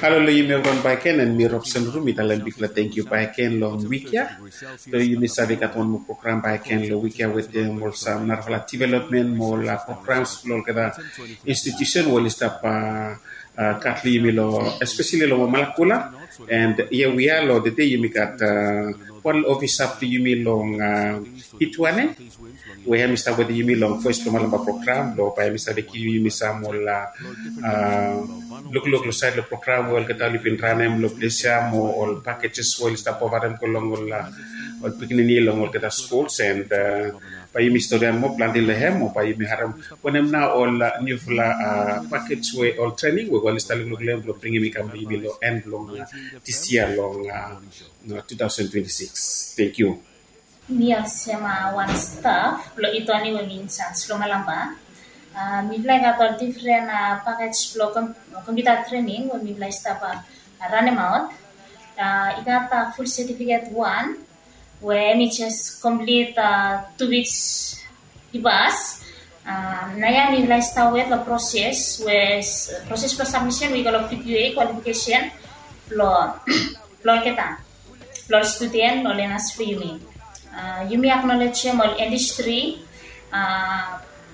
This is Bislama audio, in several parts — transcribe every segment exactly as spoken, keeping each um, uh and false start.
Halo long yumi evriwan bakegen, and mi Robson Ru, mi talem bigfala tangkiu bakegen long wik ya. So yumi save gat wan moa program bakegen long wik ya wetem ol sam narafala development mo ol programs blong olgeta institution we oli stap gat long yumi long, especially long Malakula. And here we are, long tede yumi gat wan ofisa blong yumi long Ituane, we hem i stap wetem yumi long Voes blong Malampa program, long bae hem i save givim yumi sam ol lukluk long saed long program we olgeta oli bin ranem long ples ya, mo ol packages we oli stap provaedem go long ol pikinini long olgeta skuls, and bae yumi storian moa plante long hem, mo bae yumi harem wanem nao ol niufala package we ol trening we oli stap lukluk long hem blong bringim i kam long yumi long en blong dis yia long two thousand twenty-six. Tangkiu. Mi olsem wan staf blong Ituane we mi inchaj long Malampa. Mifala i gat ol difren pakej blong kompiuta trening we mifala i stap ranemaot. I gat ful setifiket wan we hem i jes komplit tu wiks i pas. Naoia mifala i stap wet long proses we proses blong sabmisen we i go long V Q A kwalifikesen blong olgeta, blong ol studen, long ol lenas blong yumi. Yumi aknolejem ol indastri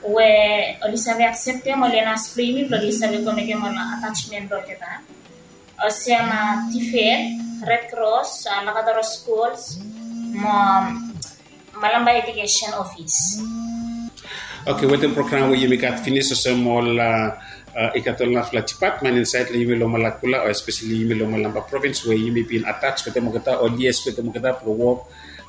we oli save akseptem ol lenas blong yumi blong oli save go mekem ol atajmen blong olgeta. Olsem TVET, Red Cross, Lakatoro Schools mo Malampa Education Office. Oke, wetem program we yumi gat finis, olsem ol i gat ol narafala dipatmen insaed long yumi long Malakula, o espeseli yumi long Malampa provins we yumi bin ataj wetem olgeta, ol lias wetem olgeta blong wok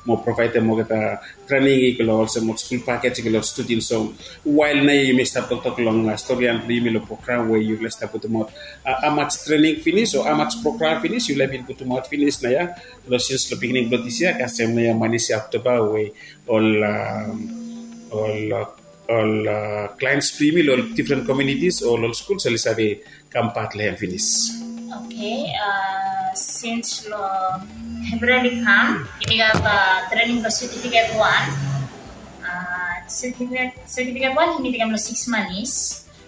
mo provaedem olgeta trening i go long olsem ol skul pakej i go long ol studen. So wael naoia yumi stap toktok long storian blong yumi long program we yufala i stap putumaot, hamaj trening finis o hamaj program finis yufala i bin putumaot finis naoia long sins long beginning blong dis yia, kasem naoia manis ya Oktoba we ol ol ol clients blong yumi long ol difren communities o long ol skuls oli save kam pat long hem finis. Oke, sins long Eprel i kam, yumi gat trening blong setifiket wan. Setifiket wan yumi tekem long siks manis.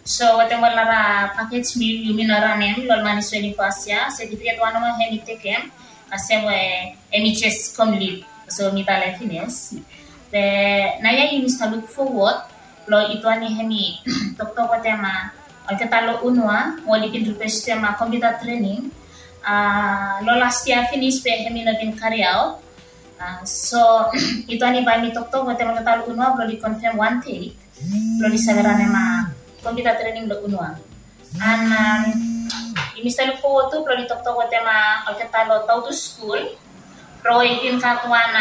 So wetem ol nara pakej yumi no ranem long ol manis we oli pas ya, setifiket wan nomo hem i tekem, kasem we hem i jes komplit. So mi talem finis. Be naoia yumi stap luk fowod blong Ituane hem i toktok wetem olgeta long Unua we oli bin rikwestem kompiuta trening long las yia finis, be hem i no bin kariaot. So Ituane bae hem i toktok wetem olgeta long Unua blong oli konfem wan dei blong oli save ranem kompiuta trening long Unua. And yumi stap luk fowod tu blong oli toktok wetem olgeta long Tautu skul, blong oli bin gat wan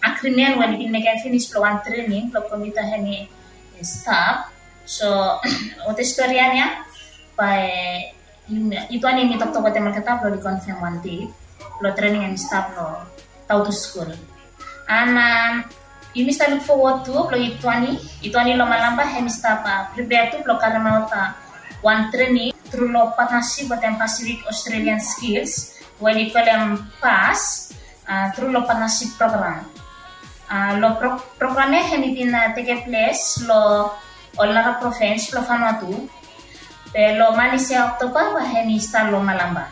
agrimen we oli bin mekem finis blong wan trening blong kompiuta hem i stap. So wetem storian ya bae Ituane hem i toktok wetem olgeta blong oli konfem wan dei blong trening hem i stap long Tautu skul. And yumi stap luk fowod tu blong Ituane, Ituane long Malampa hem i stap pripea tu blong karemaot wan trening tru long patnasip wetem Pacific Australian Skills we oli kolem PASS tru long patnasip program. Long program ya hem i bin tekem ples long ol nara provins blong Vanuatu. Be long manis ya Oktoba bae hem i stat long Malampa.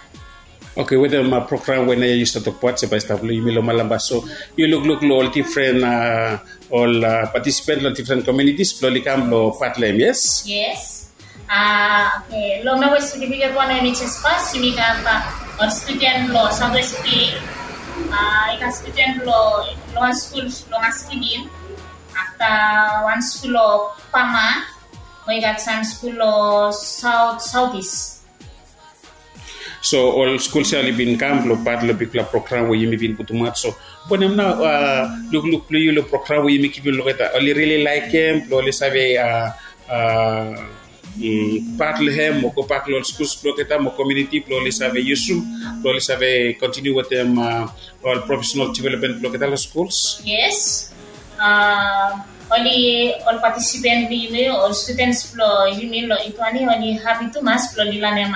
Oke, wetem program we naoia yu stap tokbaot se bae i stap long yumi long Malampa, so yu lukluk long ol difren ol patisipen long difren komunitis blong oli kam long pat long hem, yes? Yes. Oke, long nao we setifiket wan we mi jes pas, yumi gat ol studen blong South West Bay, i gat studen blong wan skul long Askin, afta wan skul long Pama, mo i gat sam skul long South Southeast. So ol skuls ya oli bin kam blong pat long bigfala program we yumi bin putumaot. So wanem nao lukluk blong yu long program we yumi givim long olgeta? Oli rili laekem blong oli save pat long hem mo gobak long ol skuls blong olgeta mo komuniti blong oli save yusum blong oli save kontiniu wetem ol profesenal developmen blong olgeta long skuls? Yes. Oli, ol patisipen blong yumi, ol studens blong yumi long Ituani, oli hapi tumas blong oli lanem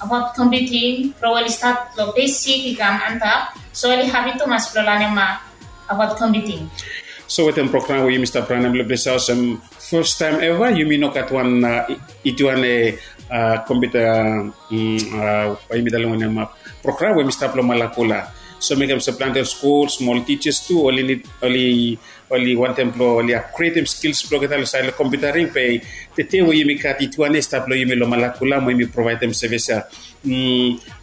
abaot kompiuting from oli stat long besik i kam antap. So oli hapi tumas blong lanem abaot kompiuting. So wetem program we yumi stap ranem long ples ya, olsem fastaem eva yumi no gat wan Ituani kompiuta, bae yumi talem wanem, program we hemi stap long Malakula. So mekem se plante ol skuls mo ol tijas tu oli nid, oli oli wantem blong oli apgredem skils blong olgeta long saed long kompiutaring. Be tede we yumi gat ituan ya i stap long yumi long Malakula mo yumi provaedem sevis ya.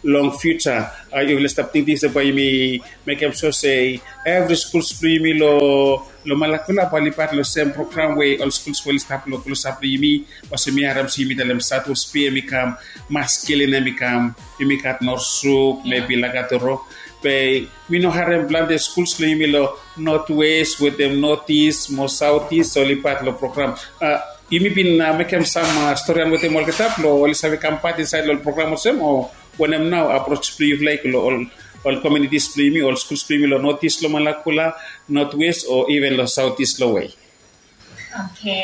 Long fiuja yufala stap tingting se bae yumi mekem so se evri skuls blong yumi long Malakula bae oli pat long sem program we ol skuls we oli stap long klosap blong yumi. Olsem mi harem se yumi talem South West Bay hemi kam, Maskilin hemi kam, yumi gat Norsuk, mebi Lakatoro. Be mi no harem plante skuls long yumi long North West wetem North East mo South East oli pat long program. Yumi bin mekem sam storian wetem olgeta blong oli save kam pat insaed long ol program olsem, o wanem nao aproj blong yufala i go long ol kominitis blong yumi, ol skuls blong yumi long North East long Malakula, North West o iven long South East long we? Oke,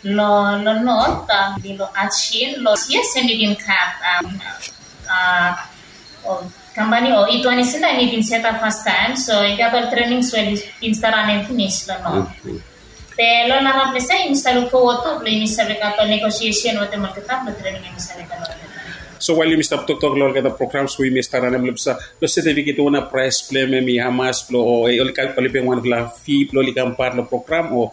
long North, mi long Atshin long, yes, hemi bin gat kampani o ituan ya sindae hemi bin setap fastaem, so i gat ol trenings we oli bin stap ranem finis long North. Be long naraples ya yumi stap luk fowod tu blong yumi save gat ol negosiesen wetem olgeta blong trening hemi save go long olgeta. So wael yumi stap toktok long olgeta programs we yumi stap ranem long ples ya, long setifiket, wanem praes blong hem, hemi hamas blong, o oli peim wanfala fi blong oli kam pat long program, o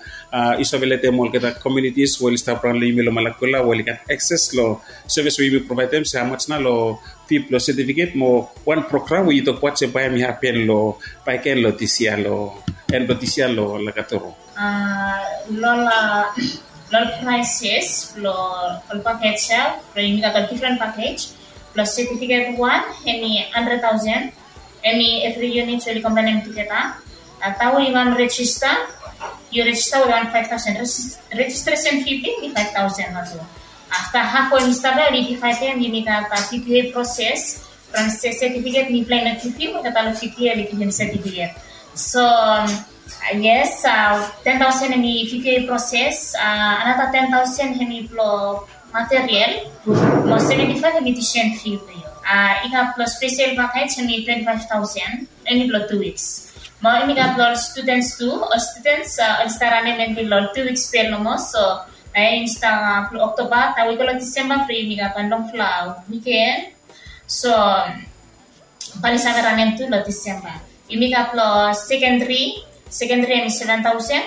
yu save letem olgeta kominitis we oli stap raon long yumi long Malakula we oli gat akses long sevis we yumi provaedem, se hamaj nao long fi blong setifiket mo wan program we yu tokbaot se bae hemi hapen long bae i go long dis yia, long en blong dis yia long Lakatoro? Long ol praeses blong ol pakej ya, blong yumi gat ol difren pakej. Blong setifiket wan hemi handred taosen, hemi evri yunit we oli kombaenem tugeta. Afta we yu wan rejista, yu rejista wetem wan faef taosen. Rejistresen fi blong hem hemi faef taosen nao tu. Afta haf we hemi stap ya oli divaedem, yumi gat VQA proses. From setifiket mifala i no givim, olgeta long VQA oli givim setifiket. So yes, ten taosen hemi VQA proses, anata ten taosen hemi blong material, mo seventi faef hemi tusen fi blong yu. I gat blong spesel pakej hemi twenti faef taosen, hemi blong tu wiks. Mo yumi gat blong ol studens tu, ol studens oli stap ranem hemi long tu wiks bel nomo, so nao ya yumi stap blong Oktoba taem we i go long Disemba blong yumi gat wan longfala wiken. So bae oli save ranem tu long Disemba. Yumi gat blong sekendri, sekendri hemi seven taosen.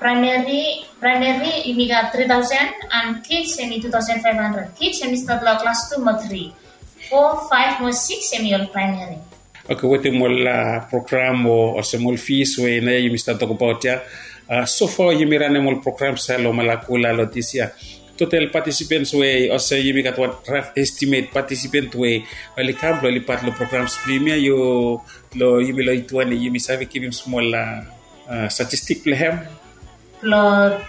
Praemeri, praemeri yumi gat tri taosen, and kij hemi tu taosen faef handred. Kij hemi stat long klas tu mo tri. Fo, faef mo sikis hemi ol praemeri. Oke, wetem ol program o olsem ol fis we nao ya yumi stap tokbaot ya, sofa yumi ranem ol programs ya long Malakula long dis yia, total patisipens we olsem yumi gat wan raf estimet patisipens we oli kam blong oli pat long programs blong yumi ya, long yumi long ituan ya yumi save givim smol statistik blong hem? Blong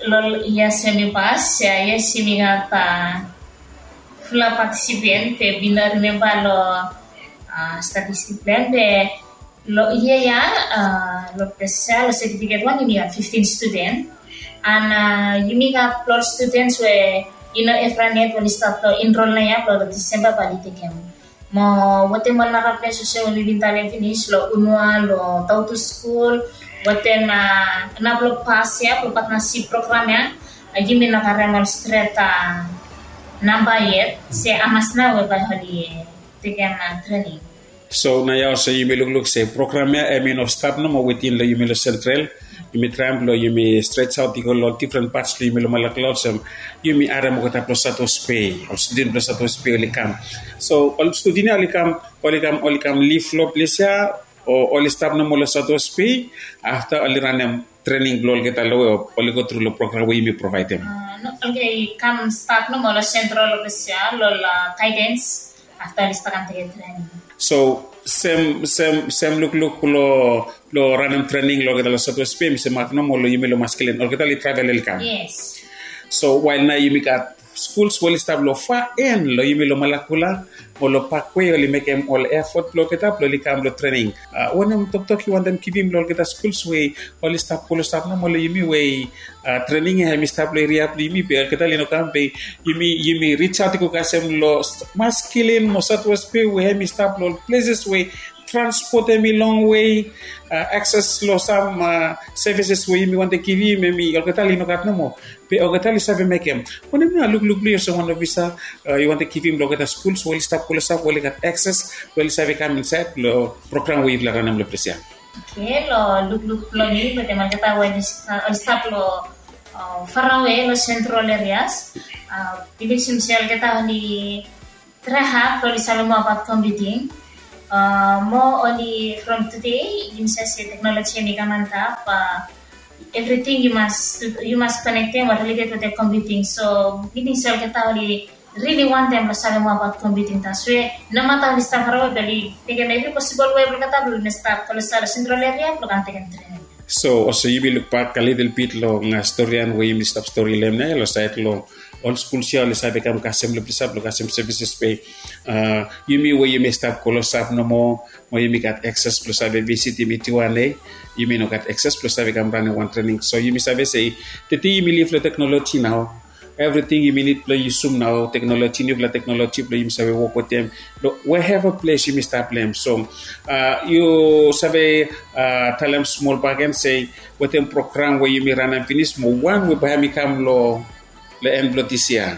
long yia hemi pas ya, yes, yumi gat fulap patisipen, be mi no rimemba long statistik blong hem, be long yia ya, long ples ya long setifiket wan yumi gat fiftin studen. And yumi gat blong ol studens we i no evran yet we oli stap blong enrol nao ya, blong long Disemba bae oli tekem. Mo wetem ol naraples olsem we mi bin talem finis, long Unua, long Tautu skul, wetem nao blong pas ya, blong patnasip program ya, yumi no karem ol stret namba yet se hamas nao we bae oli tekem trening. So nao ya olsem yumi lukluk se program ya hemi no stap nomo wetem long yumi long Sentral. Yumi traem blong yumi strejaot i go long ol difren pats blong yumi long Malakula, olsem yumi harem olgeta blong South West Bay, ol studen blong South West Bay oli kam. So ol studen ya oli kam, oli kam, oli kam lif long ples ya, o oli stap nomo long South West Bay afta oli ranem trening blong olgeta long we, o oli go tru long program we yumi provaedem? No, oli kam stat nomo long Sentral long ples ya, long gaedens. Afta oli stap kam tekem trening. So sem, sem, sem lukluk long, long ranem trening long olgeta long South West Bay, mi se mak nomo long yumi long Maskilin, olgeta oli travel oli kam? Yes. So wael nao yumi gat skuls we oli stap long faen long yumi long Malakula mo long Parkway, oli mekem ol efot blong olgeta blong oli kam long trening. Wanem toktok yu wantem givim long olgeta skuls we oli stap klosap nomo long yumi we trening ya hemi stap long eria blong yumi, be olgeta oli no kam, be yumi, yumi rijaot i go kasem long Maskilin mo South West Bay we hemi stap long ol pleses we transpot hemi longwe, akses long sam sevises we yumi wantem givim hemi olgeta oli nogat nomo. Be olgeta oli save mekem. Wanem nao lukluk blong yu olsem wan ofisa, yu wantem givim long olgeta skuls we oli stap klosap we oli gat akses we oli save kam insaed long program we yufala ranem long ples ya? Oke, long lukluk blong mi wetem olgeta we oli stap long farawe long sentral erias, bilif mi se olgeta oli trae had blong oli save moa abaot kompiuting. Moa oli from tude yumi save se teknoloji hemi kam antap. Evriting yu mas konektem o rileted wetem kompiuting. So mi ting se olgeta oli rili wantem blong save moa abaot kompiuting. Taswe nomata oli stap farawe be oli tekem evri posibol we blong olgeta blong oli stap klosap long sentral eria blong kam tekem trening. So olsem yumi lukbak a litil bit long stori ya we yumi stap stori long hem nao long saed long ol skuls ya oli save kam kasem long ples ya blong kasem sevises be yumi we yumi stap klosap nomo, mo yumi gat akses blong save visitim ituane. Yumi no gat akses blong save kam ranem wan trening. So yumi save se tede yumi liv long teknoloji nao. Evriting yumi nid blong yusum nao teknoloji, niufala teknoloji blong yumi save wok wetem long weheva ples yumi stap long hem. So yu save talem smol bakegen se wetem program we yumi ranem finis mo wan we bae hemi kam long long en blong dis yia,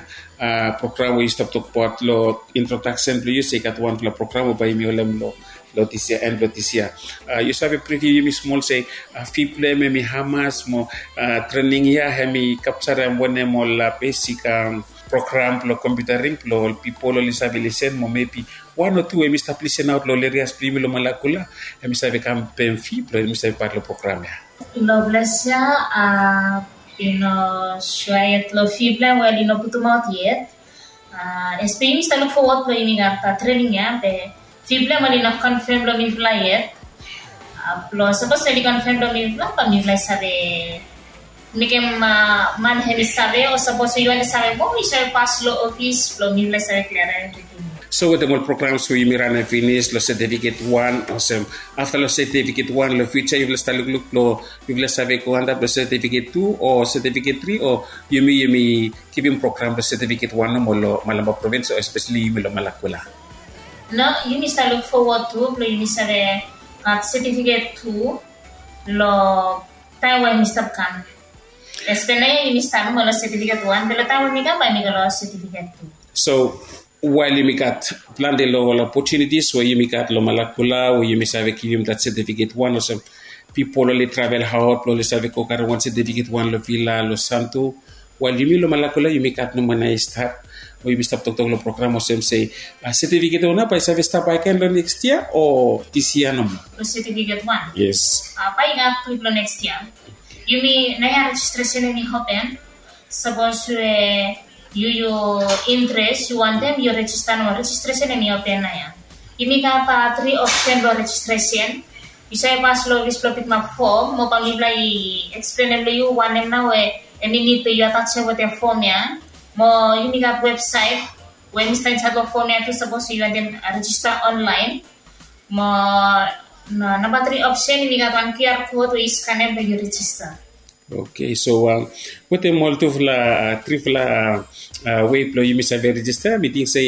program we yu stap tokbaot long introdaksen blong yu se i gat wanpela program we bae yumi holem long long dis yia, en blong dis yia. Yu save priviu yumi smol se fee blong hem hemi hamas mo trening ya hemi kapjarem wanem ol besik program blong kompiutaring blong ol pipol oli save lisen mo mebi wan o tu hemi stap lisenaot long ol erias blong yumi long Malakula, hemi save kam pem fee blong hemi save pat long program ya? Long ples ya i no sua yet long fee blong hem we oli no putumaot yet. Espe yumi stap luk fowat blong yumi gat trening ya be fee blong hem oli no konfem long mifala yet. Blong sapos oli konfem long mifala bae mifala i save mekem man hemi save o sapos yu wantem save moa yu save pas long ofis blong mifala i save kliarem evriting. So wetem ol programs we yumi ranem finis long setifiket wan olsem afta long setifiket wan long fiuja yufala stap lukluk long yufala save go antap long setifiket tu o setifiket tri o yumi yumi givim program blong setifiket wan nomo long Malampa provins o espeseli yumi long Malakula? No, yumi stap luk fowat tu blong yumi save gat setifiket tu long taem we yumi stap kam. Espe naoia yumi stap nomo long setifiket wan be long taem we mi kam bae mi go long setifiket tu. So wael yumi gat plante long ol opotunitis we yumi gat long Malakula we yumi save givim dat setifiket wan olsem pipol oli travel aot blong oli save go karem wan setifiket wan long Vila long Santu. Wael yumi long Malakula yumi gat nomo nao i stap we yumi stap toktok long program olsem se setifiket wan nao bae i save stap bakegen long neks yia o dis yia nomo? Long setifiket wan? Yes. Bae i gat tu blong neks yia. Yumi naoia rejistresen hemi open. Sapos we yu yu interes yu wantem yu rejista nomo, rejistresen hemi open naoia. Yumi gat tri opsen blong rejistresen. Yu save pas long ofis blong pikimap fom mo bae mifala i eksplenem long yu wanem nao we hemi nid blong yu atajem wetem fom ya. Mo yumi gat websaet we hemi stap insaed long fom ya tu sapos yu wantem rejista onlaen. Mo namba tri opsen yumi gat wan QR kot we yu skanem blong yu rejista. Oke, so wetem ol tufala trifala wei blong yumi save rejista mi ting se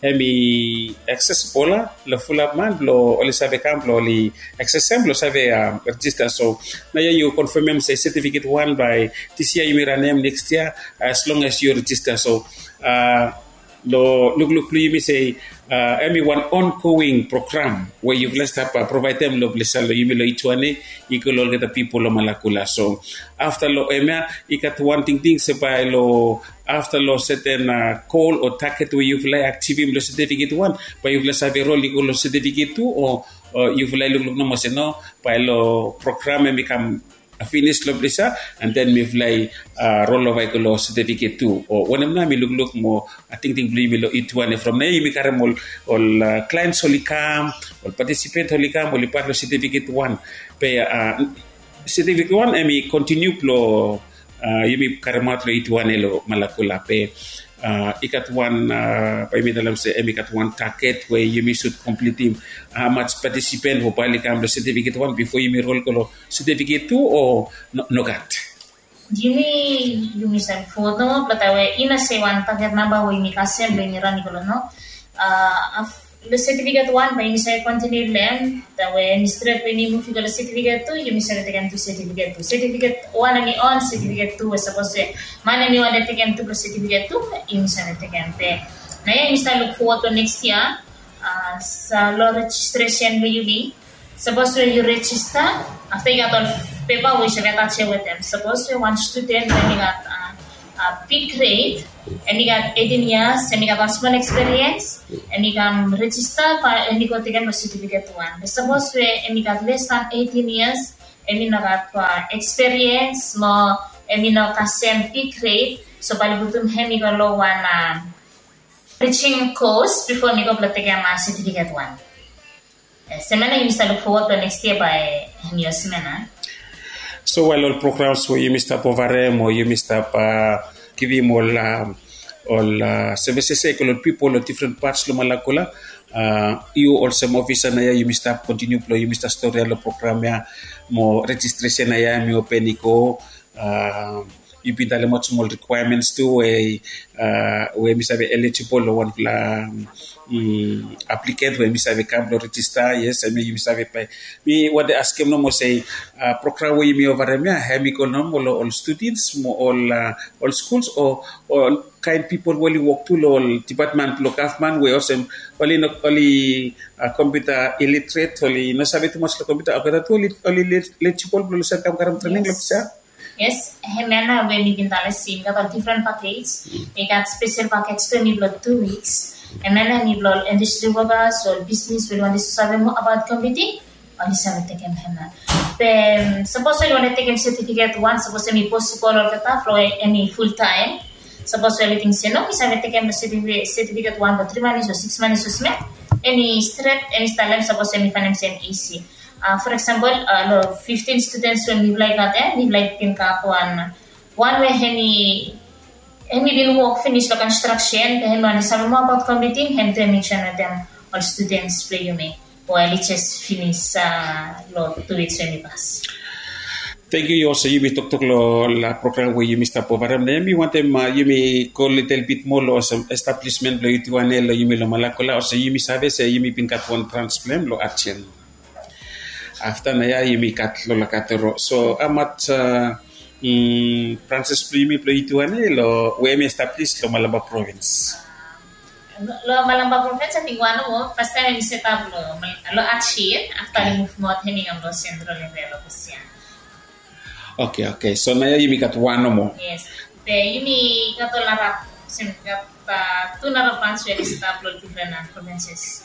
hemi aksesibol long fulap man blong oli save kam blong oli aksesem blong save rejista. So naoia yu konfemem se setifiket wan bae dis yia yumi ranem neks yia as long as yu rejista. So long lukluk blong yumi se hemi wan ongoing program we yufala stap provaedem long ples ya long yumi long Ituane i go long olgeta pipol long Malakula. So afta long hemia i gat wan tingting se bae long afta long seten gol o taget we yufala i ajivim long setifiket wan bae yufala save rol i go long setifiket tu o yufala i lukluk nomo se no, bae long program hemi kam finis long ples ya, and then mifala i rolova i go long setifiket tu o wanem nao mi lukluk mo tingting blong yumi long Ituane from naoia yumi karem ol klaens oli kam, ol patisipens oli kam oli pat long setifiket wan. Be setifiket wan hemi kontiniu blong yumi karemaot long Ituane long Malakula be i gat wan bae yumi talem se hemi gat wan taget we yumi sud komplitim. Hamaj patisipen we bae oli kam long setifiket wan bifo yumi rol go long setifiket tu o nogat? Yumi yumi save fowat nomo blong taem we i no se wan taget namba we yumi kasem blong yumi ran i go long no. Lo setifiket wan bae yumi save kontiniu long hem, we hemi stret we yumi muv i go lo setifiket tu, yumi save tekem tu setifiket tu. Setifiket wan hemi on, setifiket tu we sapos we man hemi wantem tekem tu lo setifiket tu, yumi save tekem. Be naoia yumi stap luk fowod lo neks yia. Sa lo rejistresen blo yumi, sapos we yu rejista, afta i gat ol pepa we yu save atajem wetem. Sapos we wan studen we hemi gat big gred, hemi gat eighteen years, hemi gat wan smol eksperiens, hemi kam rejista bae hemi go tekem lo setifiket wan. Be sapos we hemi gat les dan eighteen years, hemi no gat eksperiens mo hemi no kasem big gred, so bae oli putum hemi go lo wan bridging course bifo hemi go blo tekem setifiket wan. Semena yumi stap luk fowod lo neks yia bae hemi olsem ia. So wael ol programs we yumi stap ovarem o yumi stap givim ol ol sevises ia i go lo ol pipol lo difren pats lo Malakula, yu olsem ofisa naoia yumi stap kontiniu blo yumi stap stori ia lo program ia, mo rejistresen ia hemi open i go. Yu bin talemaot smol rikwaemens tu we we hemi save elijibol lo wanfala aplikant we hemi save kam blo rejista. Yes, hemia yumi save bae. Mi wantem askem nomo se program we yumi ovarem ia hemi go nomo lo ol studens mo ol ol skuls o ol kaen pipol we oli wok tu lo ol dipatmen blo gavman we olsem oli no oli kompiuta ilitret, oli no save tumas lo kompiuta, olgeta tu oli elijibol blo oli save kam karem trening lo ples ia. Yes, hemia nao we mi bin talem se i gat ol difren pakej. I gat spesel pakej tu hemi blo tu wiks. Hemia nao hemi blo ol indastri wokas o ol bisnis we oli wantem save moa abaot kompiuting, oli save tekem hemia. Be sapos oli wantem tekem setifiket wan, sapos hemi posibol olgeta blo hemi fultaem. Sapos we oli ting se no, mi save tekem setifiket wan blo tri manis o sikis manis o smol, hemi stret, hemi stap long hem sapos hemi faenem se hemi isi. For eksempel lo fiftin studens we mifala i gat ia, mifala i bin gat wan wan we hemi hemi bin wok finis lo konstraksen, be hemi wantem save moa abaot kompiuting, hem tu hemi joen wetem ol studens blo yumi we oli jes finis lo tu wiks we hemi pas. Tangkiu. Yu olsem yumi toktok lo ol program we yumi stap ovarem, nao mi wantem yumi go litel bit moa lo olsem establismen blo Ituane lo yumi lo Malakula. Olsem yumi save se yumi bin gat wan brans blo hem lo Ajen. Afta naoia yumi gat lo Lakatoro. So hamas branses blo yumi blo Ituane lo we hemi establis lo Malampa provins? Lo Malampa provins ating wan nomo, fastaem hemi setap lo Ajen, afta oli muvmaot hemi kam lo sentral eria lo Busia. Oke, oke. So naoia yumi gat wan nomo. Yes. Be yumi gat ol nara, olsem gat tu nara brans we oli stap lo difren provinses.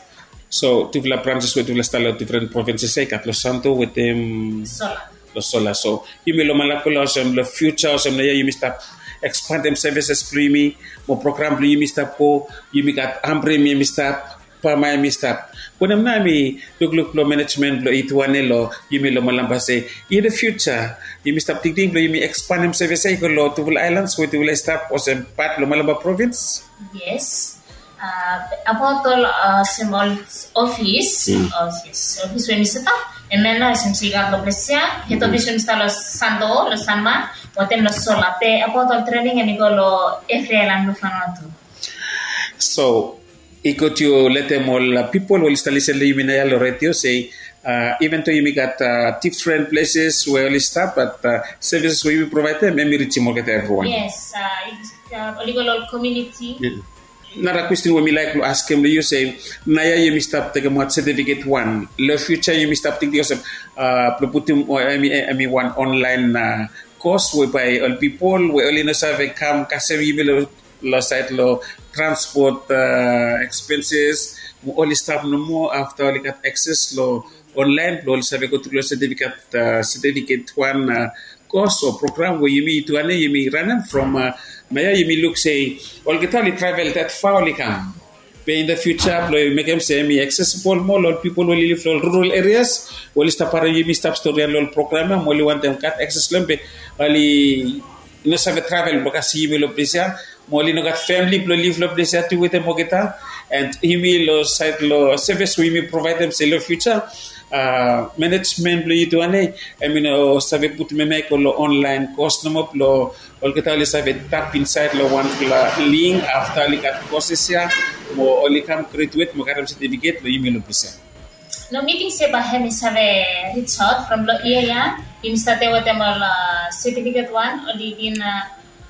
So tufala branses we tufala stap lo difren provinses ia i gat lo Santo wetem Sola. Lo Sola. So yumi lo Malakula olsem lo fiuja olsem naoia yumi stap ekspandem sevises blo yumi, mo program blo yumi stap go, yumi gat Ambre hemi stap, Pama hemi stap. Wanem nao hemi lukluk blo manejmen blo Ituane lo yumi lo Malampa se in the future yumi stap tingting blo yumi ekspandem sevis ia i go lo tufala aelans we tufala i stap olsem pat blo Malampa provins? Yes. Abaot ol olsem ol ofis, ofis we mi setap, hemia nao olsem se i gat lo ples ia, hed ofis we mi stap lo Santo, lo Sanma, wetem lo Sola. Be abaot ol trening hemi go lo evri aelan blo Vanuatu. So i gud yu letem ol pipol we oli stap lisen long yumi naoia long redio se, even though yumi gat different places we oli stap, but services we yumi provaedem, em i rijim olgeta evriwan. Yes, oli go long komuniti. Nara kwestin we mi laik long askem long yu se, naoia yumi stap tekemaot setifiket wan, long fiuja yumi stap tingting olsem blong putum, em i wan onlaen kos we bae ol pipol we oli no save kam kasem yumi long long saed long transpot expenses, mo oli stap nomo afta oli gat akses long onlaen blong oli save go tru long setifiket, setifiket wan kos o program we yumi tu ane yumi ranem from naoia yumi luk se olgeta oli travel that far oli kam. Be in the future blong mekem se em i aksesibol moa long ol pipol we oli liv long ol rural areas we oli stap harem yumi stap stori long ol program ya, mo oli wantem gat akses long em be oli no save travel blong kasem yumi long ples ya, mo oli no gat famili blong liv long ples ya tu wetem olgeta. And yumi long saed long sevis we yumi provaedem se long fiuja, manejmen blong yu tu ane em i no save putum em ya i go long onlaen kos nomo blong olgeta oli save tap insaed long wanfala link afta oli gat koses ya. Mo oli kam graduate mo karem setifiket lo yumi lo presen. No, mi ting se bae hem i save reach out from lo ia ya. Yumi state wetem ol setifiket wan oli bin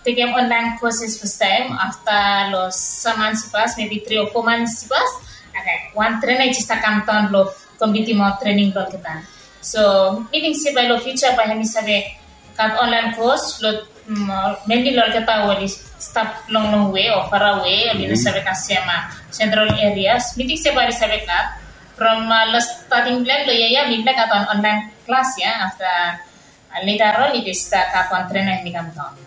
tekem online courses first time afta lo sam mans i pas, mebi tri o fo mans i pas. Wan trena i jes kam daon lo kombitim ol trening blo olgeta. So mi ting se bae lo future bae hem i save gat online course lo menli lo olgeta we oli stap long long we o farawe, oli no save kasem sentral areas. Mi ting se bae oli save gat from lo stating blo hem lo ia ya mi blo gat wan online klas ya afta later on i jes gat wan trena hem i kam daon.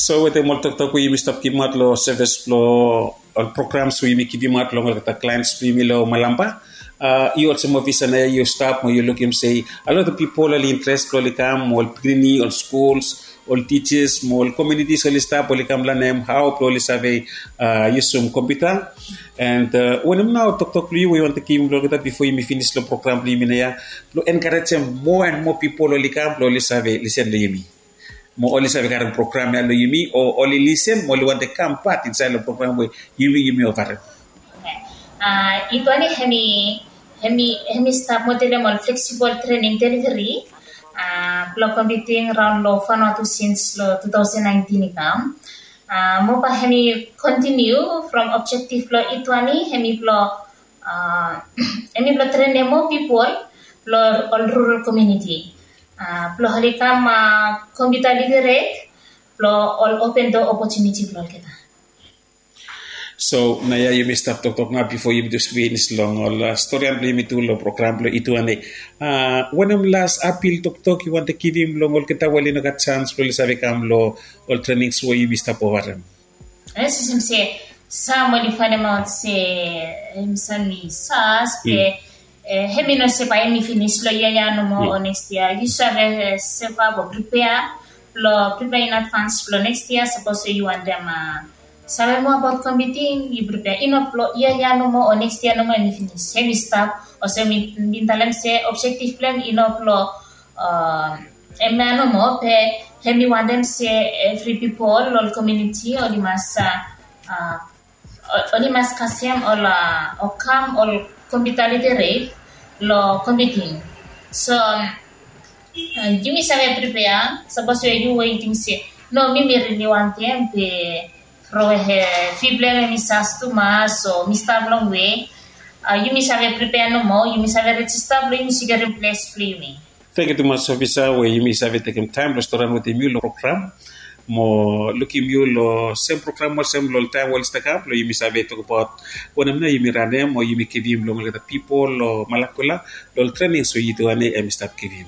So wetem ol toktok we yumi stap givimaot lo sevis blo ol programs we yumi givimaot long olgeta clients blo yumi lo Malampa, yu olsem ofisa nao ya yu stap mo yu lukim se a lot of pipol oli interes blo oli kam, ol pikinini, ol skuls, ol tijas mo ol komunitis oli stap oli kam lanem hao blo oli save yusum kompiuta. And wanem nao toktok blo yu we yu wantem givim lo olgeta bifo yumi finis lo program blo yumi nao ya blo enkarejem moa and moa pipol oli kam blo oli save lisen lo yumi mo oli save karem program ya lo yumi o oli lisen mo oli wantem kam pat insaed lo program we yumi yumi ovarem. Ituani hem i hem i hem i stap modelem ol fleksibol trening deliveri blo kompiuting raon lo Vanuatu sins lo two thousand nineteen i kam. Mo bae hem i kontiniu from objektif blo Ituani hem i blo hem i blo trenem moa pipol blo ol rural komuniti blo oli kam kompiuta literate blo ol open doa opotuniti blo olgeta. So nao ya yumi stap toktok nao bifo yumi jes finis long ol storian blo yumi tu long program blo Ituani. Wanem las apil toktok yu wantem givim long olgeta we oli no gat sans blo oli save kam long ol trenings we yumi stap ovarem? Yes, olsem se sam oli fainemaot se hem sam i sas be hem i no se bae hem i finis lo yia ya nomo o neks yia. Yu save sevap o pripea blo pripea in advans blo neks yia sapos we yu wantem save moa abaot kompiuting yu pripea i no blo yia ya nomo o neks yia nomo hem i finis. Hem i stap olsem mi bin talem se objektif blo hem i no blo hem ya nomo be hem i wantem se evri pipol lo ol komuniti oli mas oli mas kasem ol o kam ol kompiuta literate lo kompiuting. So yumi save pripea sapos we yu we yu ting se no mi mi rili wantem be from we fee blo hem hem i sas tumas o mi stap longwe. Yumi save pripea nomo, yumi save rejista blo yumi sekiurim ples blo yumi. Tangkiu tumas ofisa we yumi save tekem taem blo storian wetem yu long program mo lukim yu long sem program olsem long ol taem we oli stap kam blo yumi save tokbaot wanem nao yumi ranem o yumi givim long olgeta pipol long Malakula long ol trenings we Ituani hem i stap givim.